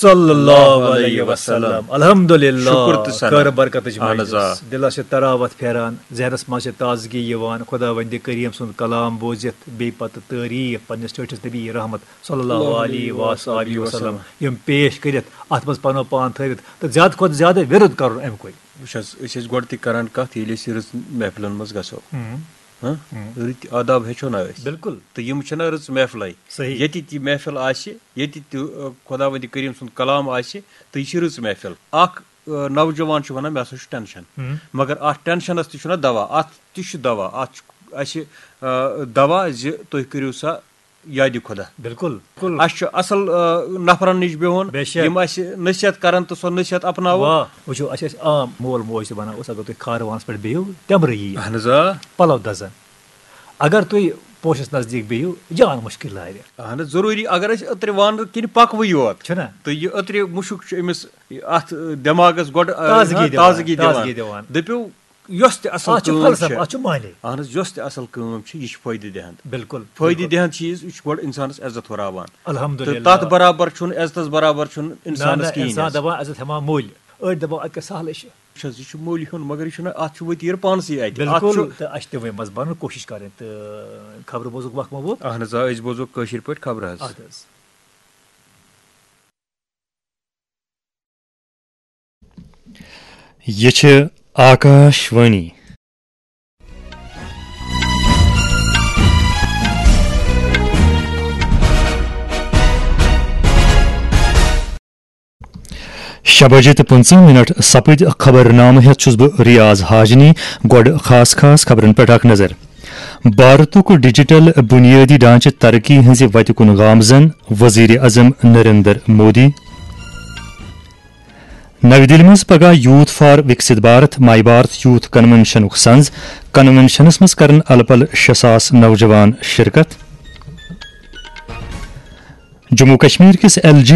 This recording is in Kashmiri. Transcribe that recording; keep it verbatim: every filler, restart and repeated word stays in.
صلی اللہ علیہ وسلم۔ الحمدللہ۔ شکر تہٕ ثنا۔ خٲر برکتٕچ اہن حظ، مجلس۔ آ۔ دِلس چھِ تراوت پھیران، ذہنس منٛز چھِ تازگی یِوان۔ خداوندِ کریم سُنٛد کلام بوٗزِتھ، بیٚیہِ پتہٕ تعریٖف پننِس ٹٲٹھِس نبی رحمت صلی اللہ علیہ وآلہ وسلم یِم پیش کٔرِتھ، اتھ منٛز پنُن پان تھٲوِتھ تہٕ زیادٕ کھۄتہٕ زیادٕ وِرد کرُن امہِ کُے۔ وٕچھ حظ، أسۍ ٲسۍ گۄڈٕ تہِ کران کتھ، ییٚلہِ أسۍ رٕژ محفلن منٛز گژھو۔ ہم۔ ہاں؟ ہم۔ رٕتۍ آداب ہیٚچھو نا أسۍ۔ بِلکُل۔ تہٕ یِم چھِنہ رٕژ محفلے۔ صحیح۔ ییٚتہِ تہِ محفل آسہِ، ییٚتہِ تہِ، آ، خۄداوندِ کریم سُنٛد کلام آسہِ، تہٕ یہِ چھِ رٕژ محفل۔ اکھ، آ، نوجوان چھُ ونان، "مےٚ ہسا چھُ ٹینشن۔" ہم۔ مگر اتھ ٹینشنس تہِ چھُنہ دوا، اتھ تہِ چھُ دوا۔ اتھ چھُ اسہِ، آ، دوا زِ تُہۍ کٔرِو سا یادِ خۄدا۔ بِلکُل، بِلکُل۔ اسہِ چھُ اصل، آ، نفرن نِش بِہُن، بے شک۔ یِم اسہِ نصیحت کرن تہٕ سۄ نصیحت اپناوو۔ واہ، وٕچھِو، اسہِ ٲسۍ عام مول موج تہِ ونان اوس، "اگر تُہۍ کھارٕ وانس پٮ۪ٹھ بِہِو، تٮ۪مرٕ یِیہِ۔" اہن حظ، آ۔ پلو دزن۔ اگر تُہۍ پوشس نزدیٖک بِہِو، جان مُشکِل لارِ۔ اہن حظ، ضروٗری۔ اگر أسۍ أترِ وانہٕ کِنۍ پکوٕے یوت، چھُنہ؟ تہٕ یہِ أترِ مُشُک چھُ أمِس اتھ دٮ۪ماغس گۄڈٕ، آ، تازگی دِوان، تازگی دِوان۔ تازگی دِوان۔ دٔپِو، یۄس تہِ اصل اتھ چھُ کٲم فلسفہٕ، چھِ، اتھ چھُ معنی۔ اہن حظ، یۄس تہِ اصل کٲم چھِ، یہِ چھِ فٲیدٕ دِہند۔ بِلکُل، فٲیدٕ بِلکُل۔ دِہند چیٖز، یہِ چھُ گۄڈٕ انسانس عزت ہُراوان۔ الحمدللہ۔ تہٕ تتھ برابر چھُنہٕ، عزتس برابر چھُنہٕ نہ، انسانس نہ، کِہیٖنۍ انسان حظ۔ دپان، عزت ہٮ۪وان مٔلۍ۔ أڑۍ دپان، اتہِ کیٛاہ سہلٕے چھُ۔ وٕچھ حظ، یہِ چھُ مٔلۍ ہیوٚن، مگر یہِ چھُنہٕ، اتھ چھُ ؤتیٖر پانسٕے اتہِ۔ اتھ بِلکُل، چھُ تہٕ اسہِ چھِ تِمے منٛز بنُن کوٗشش کرٕنۍ تہٕ خبرٕ بوزُک وقت ما ووت؟ اہن حظ، آ، أسۍ بوزو کٲشِر پٲٹھۍ خبرٕ حظ۔ ادٕ حظ۔ یہِ چھِ آکاش وانی۔ شےٚ بجے تہٕ پٕنٛژٕہ منٹ سپٕدۍ۔ خبرنامہٕ ہٮ۪تھ چھُس بہٕ ریاض حاجنی۔ گۄڈٕ خاص خاص خبرن پٮ۪ٹھ اکھ نظر۔ بھارتُک ڈیجیٹل بنیٲدی ڈھانچہٕ ترقی ہٕنٛزِ وتہِ کُن گامزن، وزیر اعظم نریندر مودی۔ نَوِ دِلہِ منٛز پگاہ youth for Viksit Bharat, my Bharat youth کنونشنُک سنز۔ کنونشنس منٛز کرن الہٕ پلہٕ شےٚ ساس نوجوان شرکت۔ جموں کشمیر کِس ایل جی